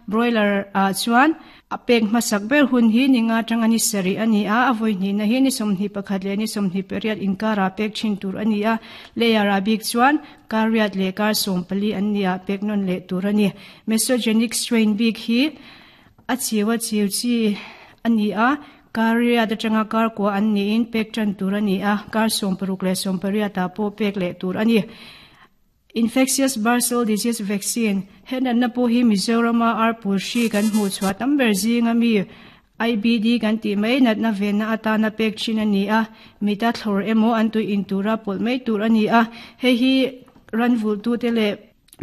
Broiler ah chuan a pek hmasak ber hun hi ni nga atanga ni sarih a ni a, a vawi hnihna hi ni 21 leh ni 28 inkarah pek thin tur a ni a. Layer ah bik chuan kar riat leh kar 14 an ni ah pek nawn leh tur a ni. Mesogenic strain bik hi a chiu a chiu chi a ni a, kar riat atanga kar kua an niin pek tan tur a ni a, kar 60 leh 80 ah pawh pek leh tur a ni. Infectious Bursal Disease Vaccine, He natna pawh hi Mizorama arpul hri kan hmuh chhuah tam ber zinga mi IBD kan tih mai natna venna atana pek thin a ni a, mita thlawr emaw an tui in tura pawlh mai tur a ni a, hei hi ranvulhtute leh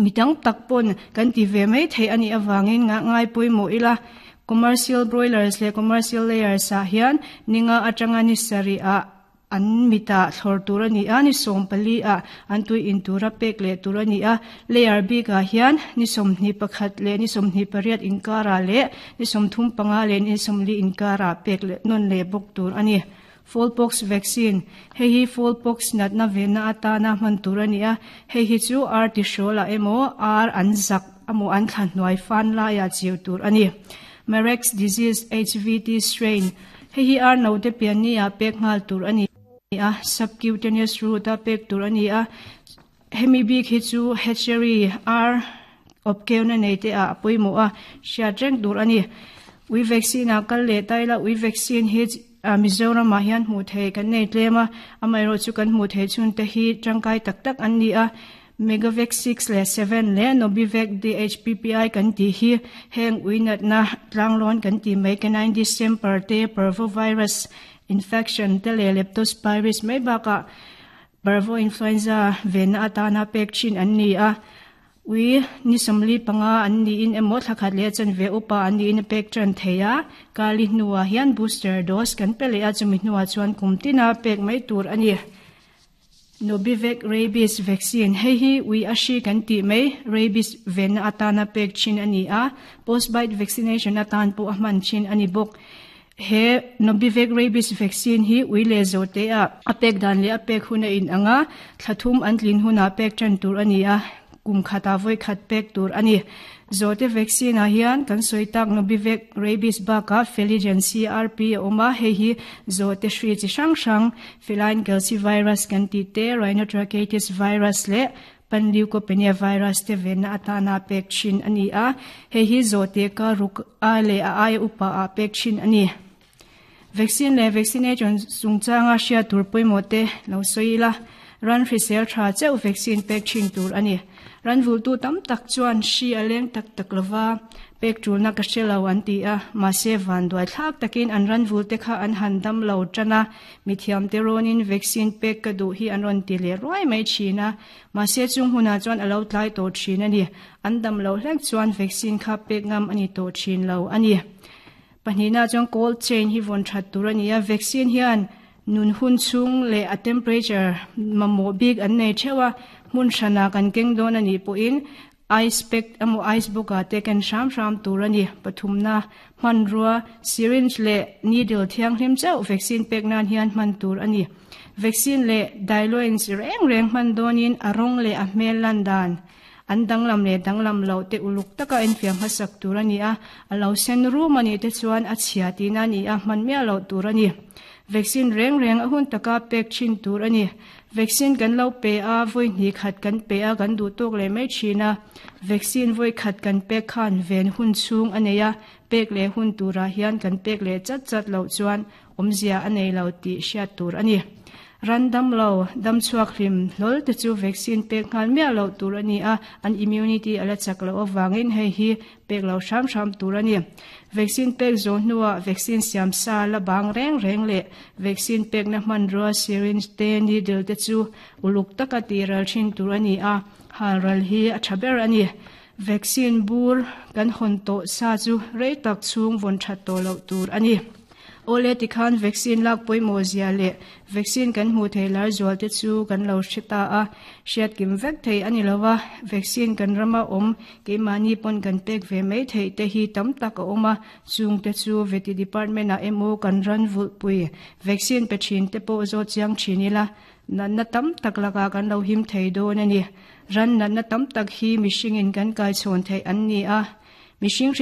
mi tam tak pawn kan ti ve mai theih a nih avangin ngah ngai pawimawh ila. Commercial Broilers leh Commercial Layers ah hian ninga atanga ni sarih ah an mitah thlawr tur a ni a, ni 14 ah an tui in tura pek leh tur a ni a. Layer bikah hian ni 21 leh ni 28 inkarah leh ni 35 leh ni 40 inkarah pek leh nawn leh bawk tur a ni. Fowlpox vaccine, Hei hi fowlpox natna venna atana hman tur a ni a, hei hi chu ar tihrawlah emaw ar an zak emaw an thla hnuai fan laiah chiu tur a ni. Marek's disease HVT strain, Hei hi ar note pian ni ah pek nghal tur a ni a, subcutaneous route a pek tur a ni a, hemi bik hi chu hatchery ar awpkeuna nei te ah a pawimawh a, hriat reng tur a ni. Ui vaccine ah kal leh ta ila, ui vaccine hi Mizoram ah hian hmuh theih kan nei tlem a, amaherawhchu kan hmuh theih chhun te hi tangkai tak tak an ni a. Megavac 6 leh 7 leh Nobivac DHPPI kan tih hi heng ui natna tlanglawn kan tih mai canine distemper te, parvovirus infection te leh leptospirosis mai bakah parvo influenza venna atana pek thin an ni a. Ui ni 45 an niin emaw thla khat leh chanve upa an niin a pek tan thei a, kali hnuah hian booster dose kan pe leh a, chumi hnuah chuan kum tina pek mai tur a ni. Nobivac Rabies Vaccine, Hei hi ui a hri kan tih mai, rabies venna atana pek thin a ni a, post-bite vaccination atan pawh a hman thin a ni bawk. He Nobivac Rabies Vaccine hi ui leh zawhte ah a pek dan leh a pek hun a inang a, thla thum an tlin hunah pek tan tur a ni a, kum khatah vawi khat pek tur a ni. Zawhte vaccine ah hian kan sawi tak Nobivac Rabies bakah Feligen CRP a awm a, hei hi zawhte hri chi hrang hrang Feline calcivirus kan tih te, Rhinotracheitis virus leh Panleukopenia virus te venna atana pek thin a ni a, hei hi zawhte ka ruk a leh a aia upa ah pek thin a ni. Vaccine leh vaccination chungchanga hriat tur pawimawh te lo sawi ila, ran hrisel tha chauh vaccine pek thin tur a ni. Ran vultu tam tak chuan hri a leng tak tak lova, pek tulna ka hre lo an ti a, mahse vanduai thlak takin an ran vulte kha an han dam lo tan a, mithiamte rawnin vaccine pek ka duh hi an rawn ti leh ruai mai thin a, mahse chung hunah chuan a lo tlai tawh thin a ni. An dam loh hlek chuan vaccine kha pek ngam a ni tawh thin lo a ni. Pahnihna chuan cold chain hi vawn that tur a ni a, vaccine hian nun hun chhung leh a temperature mamawh bik an nei theuh a, hmun hranah kan keng dawn a nih pawhin ice pack emaw ice box ah te ken hram hram tur a ni. Pathumna hmanrua syringe leh needle thianghlim chauh vaccine pek nan hian hman tur a ni. Vaccine leh diluents reng reng hman dawnin a rawng leh a hmel lan dan an danglam leh danglam loh te uluk taka enfiah hmasak tur a ni a, a lo sen rum a nih te chuan a chhia tihna a ni a, hman miah loh tur a ni. Vaccine reng reng a hun taka pek thin tur a ni. Vaccine kan lo pe a, vawi hnih khat kan pe a, kan duh tawk leh mai thin a. Vaccine vawi khat kan pek khan ven hun chhung a nei a, pek leh hun turah hian kan pek leh chat chat loh chuan awmzia a nei lo tih hriat tur a ni. Ran dam lo, dam chhuak hlim hlawl te chu vaccine pek nghal miah loh tur a ni a, an immunity a la chak loh avangin hei hi pek lo hram hram tur a ni. Vaccine pek zawh hnuah vaccine siam sa la bang reng reng leh vaccine pekna hmanrua syringe te needle te chu uluk taka tih ral thin tur a ni a, hal ral hi a tha ber a ni. Vaccine bur kan hawn tawh sa chu rei tak chhung vawn that tawh loh tur a ni. Awle tikhan vaccine lak pawimawh zia leh vaccine kan hmuh thei lar zual te chu kan lo hre ta a, hriat kim vek thei a ni lo a, vaccine kan rama awm keimahni pawn kan pek ve mai theih te hi tam tak a awm a, chung te chu veti department ah emaw kan ran vulhpui vaccine pe thin te pawh zawt chiang thin ila natna tam tak lakah kan lo him thei dawn a ni. Ran natna tam tak hi mihringin kan kaichhawn theih an ni a, mihring.